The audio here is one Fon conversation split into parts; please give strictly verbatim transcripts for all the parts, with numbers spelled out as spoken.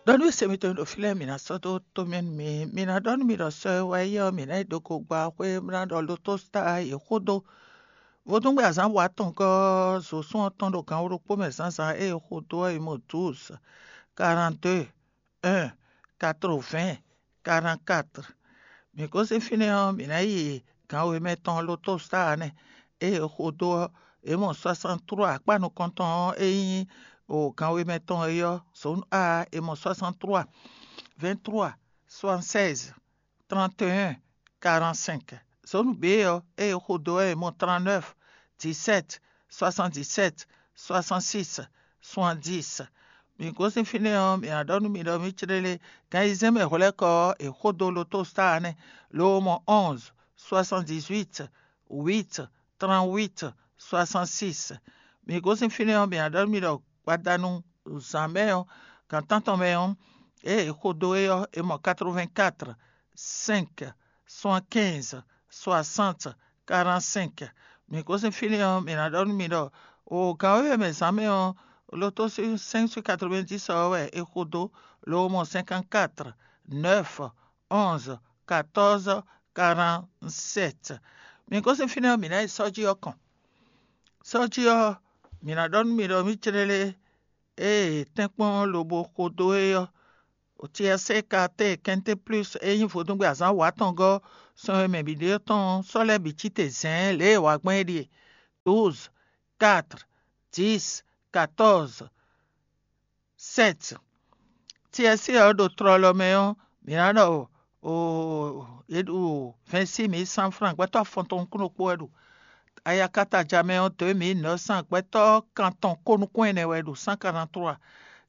Ɖɔ nú se mitɔn ɖo fí lɛ́ɛ, mǐ ná sɔ́ dó tomɛ nú mi. Mǐ ná ɖɔ nú mi ɖɔ sɔ e wá yi ɔ́, mǐ ná yi ɖo gogba xwé, mǐ ná ɖɔ lotó sta yě xó dó. Vodúngbe azǎn wa tɔn gɔ́ zosún ɔ́ tɔn ɖo gan wǒ ɖokpó mɛ zǎnzǎn e è xo dó ɔ́, è mɔ douze, quarante-deux, un, quatre-vingts, quarante-quatre. Mǐ gosín fínɛ́ ɔ́, mǐ ná yi gan wěmɛ tɔn lotó sta nɛ́ e è xo dó ɔ́, è mɔ soixante-trois, akpá nukɔntɔn ɔ́ e nyí o gan wěmɛ tɔn é ɔ́, zone A, è mɔ soixante-trois, vingt-trois, soixante-seize, trente et un, quarante-cinq. Zone B ɔ́, e è xo dó ɔ́, è mɔ trente-neuf, dix-sept, soixante-dix-sept, soixante-six, soixante-dix. Mǐ gosín fínɛ́ ɔ́, mǐ ná ɖɔ nú mi ɖɔ mǐ clélé, gan ayizɛ́n mɛ hwlɛ́kɔ ɔ́, è xo dó lotó sta nɛ́, lo mɔ onze, soixante-dix-huit, huit, trente-huit, soixante-six. Mǐ gosín fínɛ́ ɔ́, mǐ ná ɖɔ nú mi ɖɔ gbadanu zǎn mɛ ɔ́, gan tántɔn mɛ ɔ́, ée è xo dó é ɔ́, è mɔ quatre-vingt-quatre, cinq, soixante-quinze, soixante, quarante-cinq. Mǐ gosín fínɛ́ ɔ́, mǐ ná ɖɔ nú mi ɖɔ o gan wěwe mɛ zǎn mɛ ɔ́, lotó cinq sur quatre-vingt-dix ɔ́ wɛ è xo dó, lo mɔ cinquante-quatre, neuf, onze, quatorze, quarante-sept. Mǐ gosín fínɛ́ ɔ́, mǐ ná yi sɔ́ jí ɔ́ kɔn. Sɔ́ jí ɔ́, mǐ ná ɖɔ nú mi ɖɔ mǐ clélé ée tɛ́nkpɔ́n lobo xo dó é ɔ́, Tiɛsé Katée Kɛnté Plus e nyí vodúngbe azǎn wǎ tɔn gɔ́ sɔn e mɛ bǐ ɖe ɔ́ tɔn ɔ́, sɔ́ lɛ́ bǐ cí te zɛ̌ɛ́n lě e è wa gbɔn é ɖíe: douze, quatre, dix, quatorze, sept. Tiɛsé ɔ́ ɖo tlɔlɔ mɛ ɔ́, mǐ ná ɖɔ oo, yě ɖu vingt-six mille cent francs, gbɛtɔ́ afɔtɔn nukún ɖokpó wɛ ɖu. Ayakataja mɛ ɔ́, deux mille neuf cents, gbɛtɔ́ kantɔn ko nukún ɛnɛ wɛ ɖu, cent quarante-trois.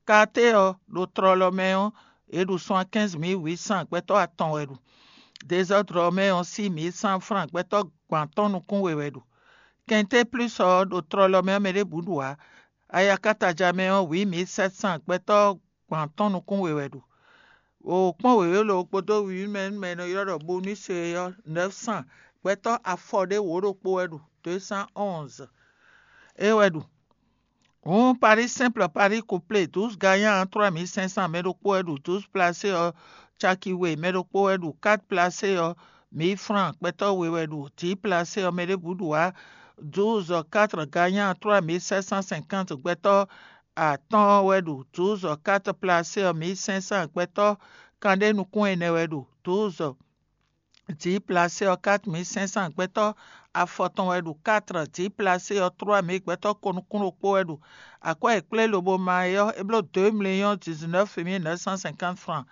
Katé ɔ́, ɖo tlɔlɔ mɛ ɔ́, è ɖu soixante-quinze mille huit cents, gbɛtɔ́ atɔn wɛ ɖu. Désɔ́dru ɔ́ mɛ ɔ́, six mille cent francs, gbɛtɔ́ gban atɔ́ɔ́n nukún we wɛ ɖu. Kɛnté Plus ɔ́, ɖo tlɔlɔ mɛ ɔ́, mɛ ɖěbǔ ɖu ǎ. Ayakataja mɛ ɔ́, huit mille sept cents, gbɛtɔ́ gban atɔ́ɔ́n nukún we wɛ ɖu. O kpɔ́n wěwé lo kpódó wǐwímɛ nú mɛ e nɔ ylɔ́ ɖɔ bonus é ɔ́, neuf cents, gbɛtɔ́ afɔ ɖé wǒ ɖokpó wɛ ɖu, deux cent onze. É wɛ ɖu. Hǔn Paris simple, Paris couplé, douze gagnant trois mille cinq cents, mɛ ɖokpó wɛ ɖu. Douze placé ɔ́, caki we, mɛ ɖokpó wɛ ɖu. Quatre placé ɔ́, mille francs, gbɛtɔ́ we wɛ ɖu. Dix placé ɔ́, mɛ ɖěbǔ ɖu ǎ. Douze quatre gagnant trois mille sept cent cinquante, gbɛtɔ́ atɔ́ɔ́n wɛ ɖu. Douze quatre placé ɔ́, mille cinq cents, gbɛtɔ́ kanɖé nukún ɛnɛ wɛ ɖu. Douze dix placé ɔ́, quatre mille cinq cents, gbɛtɔ́ afɔtɔn wɛ ɖu. Quatre dix placé ɔ́, trois mille, gbɛtɔ́ ko nukún ɖokpó wɛ ɖu. Akwɛ́ e kplé lobo ma é ɔ́, é bló deux millions dix-neuf mille neuf cent cinquante francs.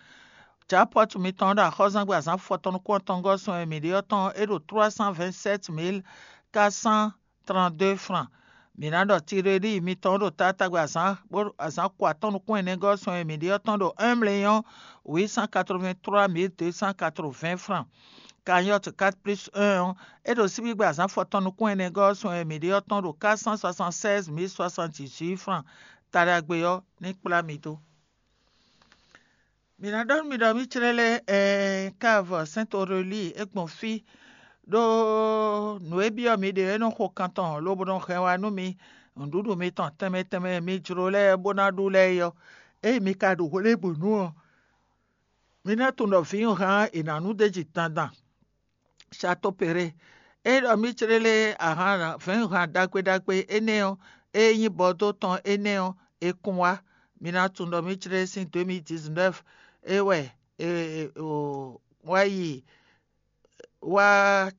Jackpot mitɔn ɖo axɔ́zangbe azǎn fɔtɔn nukún atɔngɔ́ sɔn e mǐ ɖe ɔ́ tɔn, é ɖo trois cent vingt-sept mille quatre cent trente-deux francs. Mǐ ná ɖɔ tiɖeɖi mitɔn ɖo taatagbe azǎn bó azǎn ko atɔ́ɔ́n nukún ɛnɛgɔ́ sɔn e mǐ ɖe ɔ́ tɔn ɖo un million huit cent quatre-vingt-trois mille deux cent quatre-vingts francs. Cagnotte quatre plus un ɔ́, é ɖo síbígbe azǎn fɔtɔn nukún ɛnɛgɔ́ sɔn e mǐ ɖe ɔ́ tɔn ɖo quatre cent soixante-seize mille soixante-dix-huit francs. Taɖagbe ɔ́ ní kplá mi dó. Mǐ ná ɖɔ nú mi ɖɔ mǐ clɛ́ lɛ́ ɛɛ Kávɔ Sɛ́ntorelíi é gbɔn fí, ɖó nǔ e byɔ́ mi ɖe ɔ́ é nɔ xo kan tɔn lobo nɔ hɛn wá nú mi. Nǔɖuɖu mitɔn tɛnmɛ tɛnmɛ e mi jló lɛ́ɛ bó ná ɖu lɛ́ɛ é ɔ́, ényí mi ka ɖu hwelébǔnu ɔ́, mi ná tunwun ɖɔ vǐwunhan ɔ́ è nǎ nu d'é jí dandan. Châteaupéré. É ɖɔ mǐ clélé ahan vɛ̌nhan ɖagbe ɖagbe énɛ́ ɔ́, e nyí Bɔdó tɔn énɛ́ ɔ́, è kun wá. Mi ná tunwun ɖɔ mǐ clélé sín deux mille dix-neuf é wɛ è wá yi wá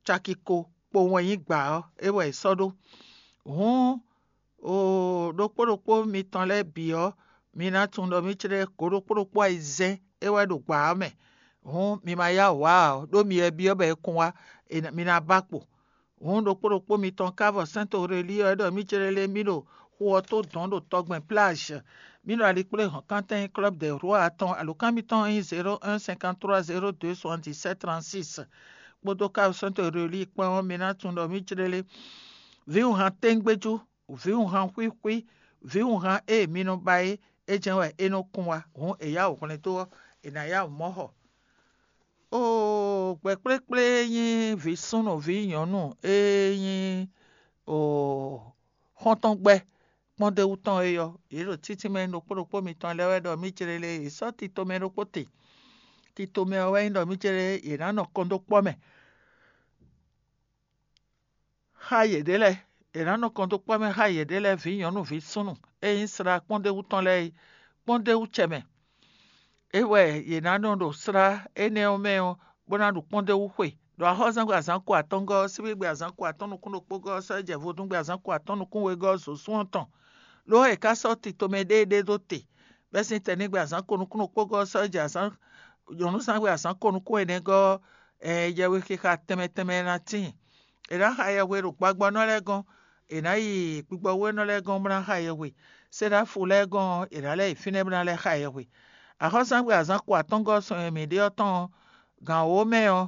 caki ko kpowun e nyí gbǎ ɔ́, é wɛ è sɔ́ ɖó. Hǔn oo ɖokpó ɖokpó mitɔn lɛ́ɛ bǐ ɔ́, mi ná tunwun ɖɔ mǐ clé go ɖokpó ɖokpó ayizɛ́n é wɛ ɖo gbǎ ɔ́ mɛ. Hǔn mi ma yá wǔ wá ǎ, ɖó mi wɛ byɔ́ bɔ è kun wá, mi ná ba kpo. Hǔn ɖokpó ɖokpó mitɔn ka vɔ Sɛ́ntorelíi ɔ́ é ɖɔ mǐ clélé mì ɖo xu ɔ́ tó dɔ̌n ɖo tɔgbɛn plage. Mì ɖo alikpléhɔ̌nkántɛn Club des Rois atɔn, alǒkan mitɔn nyí zéro un cinquante-trois zéro deux soixante-dix-sept trente-six. Kpódó ka Sɛ́ntorelíi kpán ɔ́, mi ná tunwun ɖɔ mǐ clélé vǐwunhan téŋgbéjú, vǐwunhan xwíxwí, vǐwunhan e mi nɔ ba é, é jɛ́n wɛ é nɔ kún wá. Hǔn è yá wǔ hwlɛ́n dó ɔ́, è nǎ yá wǔ mɔ xɔ. Oo gbɛ̌ kplékplé e nyí vǐ súnnu vǐ nyɔ̌nu e nyí oo xɔ́ntɔn gbɛ́, kpɔ́ndéwú tɔn é ɔ́, yě ɖo títínmɛ ɖokpó ɖokpó mitɔn lɛ́ɛ wɛ ɖɔ mǐ jlé lé, yě sɔ́ titomɛ ɖokpó te. Titomɛ ɔ́ wɛ nyí ɖɔ mǐ jlé yě ná nɔ kɔn dó kpɔ́ mɛ. Xá yěɖée lɛ́ɛ, è nǎ nɔ kɔn dó kpɔ́ mɛ xá yěɖée lɛ́ɛ vǐ nyɔ̌nu vǐ súnnu e nyí slá kpɔ́ndéwú tɔn lɛ́ɛ é, kpɔ́ndéwú cɛ mɛ. É wɛ yě ná nɔ ɖo slá énɛ́ ɔ́ mɛ ɔ́, bó ná ɖu kpɔ́ndéwú xwe. Ɖo axɔ́súzangbe azǎn ko atɔ́ɔ́ngɔ́ ɔ́, síbígbe azǎn ko atɔ́ɔ́n nukún ɖokpó gɔ́ ɔ́ sɔ́ jɛ vodúngbe azǎn ko atɔ́ɔ́n nukún wegɔ́ ɔ́ zo sún ɔ́ tɔn. Lo ɔ́, è ká sɔ́ titomɛ ɖéeɖée ɖó te, bɛ́ sín tɛnígbe azǎn ko nukún ɖokpó gɔ́ ɔ́ sɔ́ jɛ azǎn nyɔ̌núzangbe azǎn ko nukún ɛnɛgɔ́ ɔ́, yɛwe xixa tɛnmɛ tɛnmɛ ná tíin. È nǎ xa yɛhwe ɖo gbagbɔnɔ lɛ́ɛ gɔ́n, è nǎ yi gbigbɔwénɔ lɛ́ɛ gɔ́n bó ná xa yɛhwe. Séɖáfu lɛ́ɛ gɔ́n ɔ́, è nǎ lɛ́ yi fínɛ́ bó ná lɛ́ xa yɛhwe. Axɔ́súzangbe azǎn ko atɔ́ngɔ́ sɔn e mǐ ɖe ɔ́ tɔn ɔ́, gǎn wǒ mɛ ɔ́,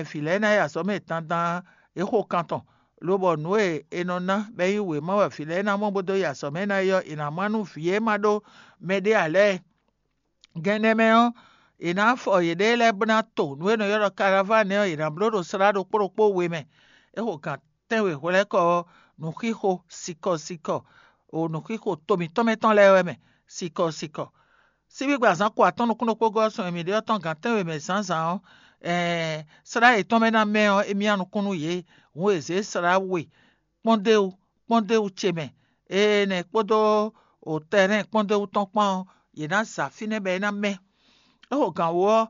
vǐ lɛ́ɛ ná yi azɔ̌ mɛ dandan é xo kan tɔn, lobɔ nǔ e è nɔ ná bɔ é nyí wěma wɛ vǐ lɛ́ɛ ná mɔ bó dó yi azɔ̌ mɛ ná yi ɔ́, è nǎ má nú vǐ e ma ɖó mɛɖé ǎ lɛ́ɛ. Gɛn nɛ́ mɛ ɔ́, è nǎ fɔ yěɖée lɛ́ɛ bó ná to nǔ e è nɔ ylɔ́ ɖɔ karavánɛ ɔ́, è nǎ bló ɖo slá ɖokpó ɖokpó we mɛ. É xo gǎn tɛ́nwe hwlɛ́kɔ ɔ́, nǔxixo sikɔ sikɔ, o nǔxixo to mǐtɔn mɛ tɔn lɛ́ɛ wɛ mɛ, sikɔ sikɔ. Síbígbe azǎn ko atɔ́ɔ́n nukún ɖokpó gɔ́ sɔn e mǐ ɖe ɔ́ tɔn gǎn tɛ́nwe mɛ zǎnzǎn ɔ́, slá yětɔn mɛ ná mɛ ɔ́, émí nukún nú yě, hǔn è zě slá we kpɔ́ndéwu kpɔ́ndéwu ce mɛ. Énɛ́ kpódó tɛrɛ́n kpɔ́ndéwu tɔn kpán ɔ́, yě ná za fínɛ́ bɔ é ná mɛ́. É xo gǎn wú ɔ́,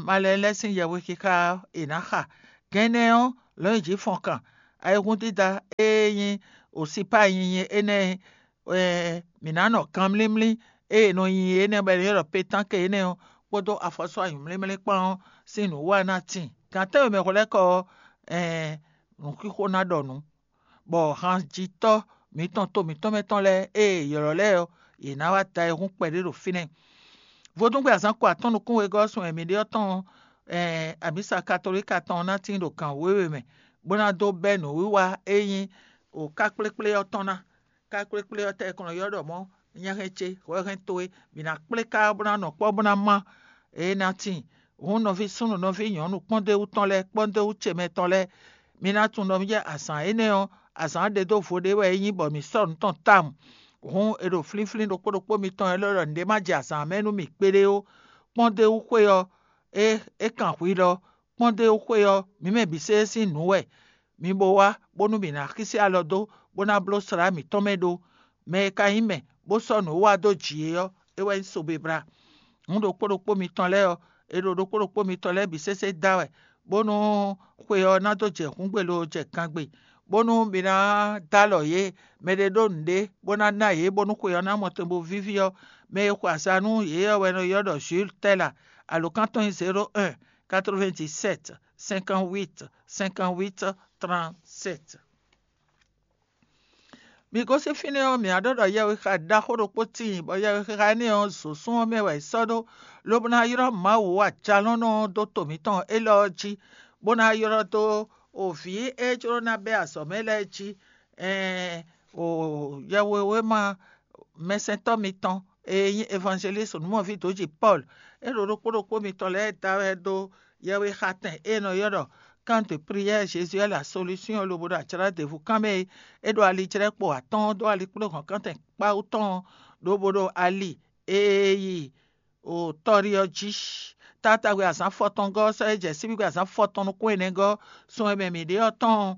malɛ lɛ́ɛ sín yɛhwexixa ɔ́, è nǎ xa. Gɛn énɛ́ ɔ́, lɔ̌nyijǐ fɔnkan, ayihúndídá e nyí osipá nyinyi énɛ́ mǐ ná nɔ kanmlímlí e è nɔ nyi énɛ́ bɔ è nɔ ylɔ́ ɖɔ pétánke énɛ́ ɔ́ kpódó afɔsɔ́ anyǔmlímlí kpán ɔ́ sín nǔwiwa ná tíin. Gǎn tɛ́nwe mɛ hwlɛ́kɔ ɔ́, nǔxixo ná ɖɔ nǔ, bɔ hanjitɔ́ mǐtɔn to mǐtɔn mɛ tɔn lɛ́ɛ e è ylɔ́ lɛ́ɛ ɔ́, yě ná wá da ayihún kpɛɖé ɖo fínɛ́. Vodúngbe azǎn ko atɔ́ɔ́n nukún wegɔ́ ɔ́ sun e mǐ ɖe ɔ́ tɔn ɔ́, amǐsa katolíka tɔn ɔ́ ná tíin ɖo gǎn wěwe mɛ, bó ná dó bɛ́ nǔwiwa e nyí kákplékplé ɔ́ tɔn ná. Kákplékplé ɔ́ tɛ́ è kɔn nɔ ylɔ́ ɖɔ mɔ̌ nyɛ́hɛn ce, hwɛhɛn towe, mǐ ná kplé ká bó ná nɔ kpɔ́ bó ná má. É ná tíin. Hǔn nɔví súnnu nɔví nyɔ̌nu kpɔ́ndéwú tɔn lɛ́ɛ kpɔ́ndéwú ce mɛ tɔn lɛ́ɛ, mi ná tunwun ɖɔ mì jɛ azǎn énɛ́ ɔ́, azǎn ɖe dó vo ɖé wɛ é nyí bɔ mǐ sɔ́ nǔ tɔn tawun. Hǔn è ɖo flínflín ɖokpó ɖokpó mitɔn e lɛ́ ɖɔ nǔɖé má jɛ azǎn mɛ nú mì kpéɖé ó. Kpɔ́ndéwú xwé ɔ́, é é kan hwi ɖɔ kpɔ́ndéwú xwé ɔ́, mǐ mɛ bǐ sésé sín nǔ wɛ. Mi bo wá, bónú mǐ ná xísí alɔ dó, bó ná bló slá mǐtɔn mɛ ɖó. Mɛ e ka nyí mɛ, bó sɔ́ nǔ wa dó jǐ é ɔ́, é wɛ nyí sobebla. Hǔn ɖokpó ɖokpó mitɔn lɛ́ɛ ɔ́, è ɖo ɖokpó ɖokpó mitɔn lɛ́ɛ bǐ sésé da wɛ, bónú xwe ɔ́ ná dó jɛ hǔngbe lo jɛ gangbe, bónú mi ná dó alɔ yě. Mɛ ɖé ɖó nǔɖé bó ná ná yě, bónú xwe ɔ́ ná mɔ tɛn bó víví ɔ́, mɛ e xwe aza nú yě ɔ́ wɛ è nɔ ylɔ́ ɖɔ Jules Tɛ́la. Alǒkan tɔn nyí zéro un, quatre-vingt-dix-sept, cinquante-huit, cinquante-huit, trente-sept. Mi gosín fínɛ́ ɔ́, mǐ wá ɖɔ ɖɔ yɛhwexa ɖaxó ɖokpó tíin, bɔ yɛhwexa énɛ́ ɔ́, zǒsún ɔ́ mɛ wɛ è sɔ́ ɖó, lobo ná ylɔ́ Mawu ajalɔ́nɔ ɔ́ dó to mǐtɔn élɔ́ ɔ́ jí, bó ná ylɔ́ dó o vǐ e jló ná bɛ́ azɔ̌ mɛ lɛ́ɛ jí, ɛɛn, o yɛhwewéma mɛsɛntɔ́ mitɔn e nyí evangelísi nǔmɔví dǒji Pɔ́lu, é ɖo ɖokpó ɖokpó mitɔn lɛ́ɛ da wɛ dó yɛhwexatɛn e è nɔ ylɔ́ ɖɔ Camp de prière Jésus est la solution lobo ɖo ajlǎ ɖěvo kanmɛ e é ɖo alijlɛ́kpo atɔ́ɔ́n dó alikplɔ́hɔ̌nkántɛn kpáwú tɔn ɔ́, lobo ɖo ali e yi o tɔ́ɖi ɔ́ jí. Taatagbe azǎn fɔtɔngɔ́ ɔ́ sɔ́ é jɛ síbígbe azǎn fɔtɔn nukún ɛnɛgɔ́ sun e mɛ mǐ ɖe ɔ́ tɔn,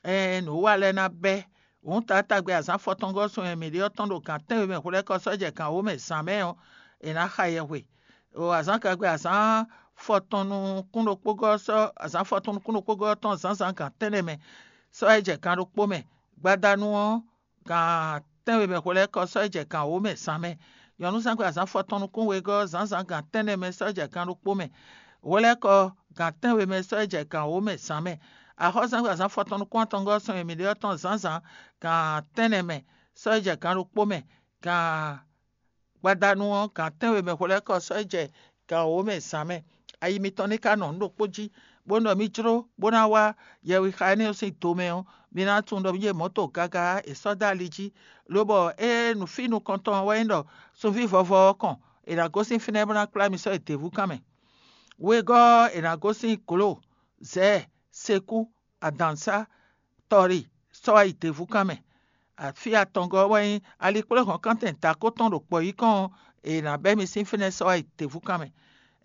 ɛɛn, nǔ wa lɛ́ɛ ná bɛ́. Hǔn taatagbe azǎn fɔtɔngɔ́ sun e mǐ ɖe ɔ́ tɔn ɖo gǎn tɛ́nwe mɛ hwelɛ́kɔ sɔ́ jɛ gǎn wǒ mɛ zǎn mɛ ɔ́, è nǎ xa yɛhwe. O azǎn gagbe azǎn fɔtɔn nukún ɖokpógɔ́ ɔ́ sɔ́ azǎn fɔtɔn nukún ɖokpógɔ́ ɔ́ tɔn zǎnzǎn gǎn tɛ́nnɛ mɛ sɔ́ é jɛ gǎn ɖokpó mɛ. Gbadanu ɔ́, gǎn tɛ́nwe mɛ hwelɛ́kɔ sɔ́ é jɛ gǎn wǒ mɛ zǎn mɛ. Nyɔ̌núzangbe azǎn fɔtɔn nukún wegɔ́ ɔ́, zǎnzǎn gǎn tɛ́nnɛ mɛ sɔ́ é jɛ gǎn ɖokpó mɛ. Hwelɛ́kɔ gǎn tɛ́nwe mɛ sɔ́ é jɛ gǎn wǒ mɛ zǎn mɛ. Axɔ́súzangbe azǎn fɔtɔn nukún atɔngɔ́ sɔn e mǐ ɖe ɔ́ tɔn zǎnzǎn gǎn tɛ́nnɛ mɛ sɔ́ é jɛ gǎn ɖokpó mɛ. Gǎn gbadanu ɔ́, gǎn tɛ́nwe mɛ hwelɛ́kɔ sɔ́ é jɛ gǎn wǒ mɛ zǎn mɛ. Ayi mitɔn ní ka nɔ nǔ ɖokpó jí, bónú ɖɔ mì jló bó ná wá yɛhwexa énɛ́ ɔ́ sín do mɛ ɔ́, mi ná tunwun ɖɔ mì jɛ mɔ̌to gaga e sɔ́ dó ali jí, lobɔ ée nǔfí nukɔntɔn ɔ́ wɛ nyí ɖɔ sunví vɔvɔ ɔ́ kɔn, è nǎ gosín fínɛ́ bó ná kplá mi sɔ́ yi děvúkan mɛ. Wegɔ́ ɔ́, è nǎ gosín glo, zɛ̌, sekú, adǎnsá, tɔri sɔ́ wá yi děvúkan mɛ. Afí atɔngɔ́ wɛ nyí alikpléhɔ̌nkántɛn dǎkó tɔn ɖo kpɔ̌yíkɔn e è nǎ bɛ́ mi sín fínɛ́ sɔ́ wá yi děvúkan mɛ.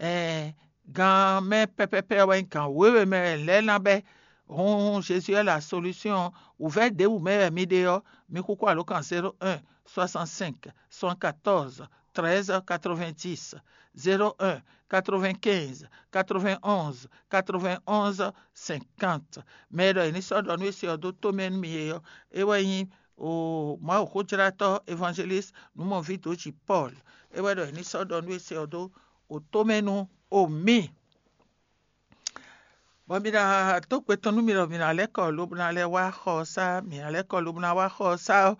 Ɛɛn, gan mɛ pɛpɛpɛ wɛ nyí gan wěwe mɛ wɛ lɛ́ɛ ná bɛ́. Hǔn Jezu wɛ la solúsyɔn. Wǔvɛ́ ɖěbǔ mɛ wɛ mi ɖe ɔ́, mi xúxú alǒkan zéro un soixante cinq soixante quatorze treize quatre vingt dix, zéro un quatre vingt quinze quatre vingt onze quatre vingt onze cinquante. Mɛ e ɖɔ è ní sɔ́ ɖɔ nú é se ɔ́ dó tomɛ nú mi é ɔ́, é wɛ nyí o Mawuxójlátɔ́ évangéliste Nǔmɔví Dǒji Pɔ́l. É wɛ ɖɔ è ní sɔ́ ɖɔ nú é se ɔ́ dó o tomɛ nú o mì. Bɔ mi ná dó gbe tɔn nú mi ɖɔ mi ná lɛ́ kɔ lobo ná lɛ́ wá xɔ ɔ́ sá. Mi ná lɛ́ kɔ lobo ná wá xɔ ɔ́ sá ɔ́,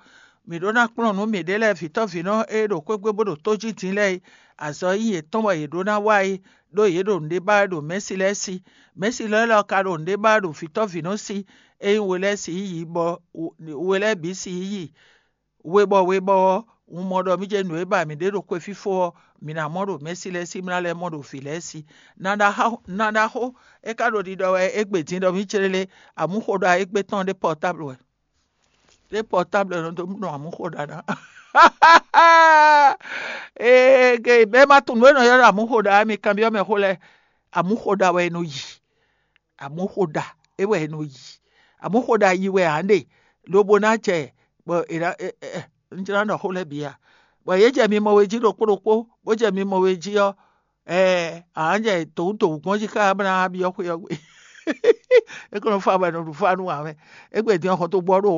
mǐ ɖó ná kplɔ́n nǔ mǐɖée lɛ́ɛ vǐtɔ́vǐnɔ e ɖo xwé gbe bó ɖo tó jí din lɛ́ɛ é. Azɔ̌ e nyí yětɔn bɔ yě ɖó ná wa é, ɖó yě ɖo nǔɖé ba wɛ ɖo mɛ̌si lɛ́ɛ sí. Mɛ̌si lɛ́ɛ lɔ ka ɖo nǔɖé ba wɛ ɖo vǐtɔ́vǐnɔ sí, ényí we lɛ́ɛ sixú yi bɔ we lɛ́ɛ bǐ sixú yi. We bɔ we bɔ ɔ́, un mɔ ɖɔ mí jɛ nǔ e ba mǐ ɖe ɖo xwefífó ɔ́, mǐ ná mɔ ɖo mɛ̌si lɛ́ɛ sí, mí ná lɛ́ mɔ ɖo vǐ lɛ́ɛ sí. Na ɖaxó, na ɖaxó, é ka ɖo ɖiɖɔ wɛ égbé din ɖɔ mí clélé, amǔxoɖa égbé tɔn ɖé pɔtáblu wɛ. Ɖé pɔtáblu nɔ dó nɔ amǔxoɖa ná. Ee, ge bɛ́ ma tunwun nǔ e nɔ ylɔ́ ɖɔ amǔxoɖa ɔ́, mi kanbyɔ́ mɛ xó lɛ́ɛ. Amǔxoɖa wɛ è nɔ yi. Amǔxoɖa é wɛ è nɔ yi. Amǔxoɖa yi wɛ ǎ ɖe, lobo ná jɛ bɔ è ná ɛ, ɛ, ɛ, un jlá ɖɔ xó lɛ́ɛ bǐ a? Bɔ yě jɛ mi mɔ we jí ɖokpó ɖokpó, bó jɛ mi mɔ we jí ɔ́, ɛɛ, ǎ jɛ dǒwúdǒwú gbɔn jí xá bó ná byɔ́ xwé ɔ́ gbe. É kó nɔ fá bɔ è nɔ ɖu fá nú ǎ mɛ. Égbé din ɔ́, xɔ́ntɔn gbɔ ɖo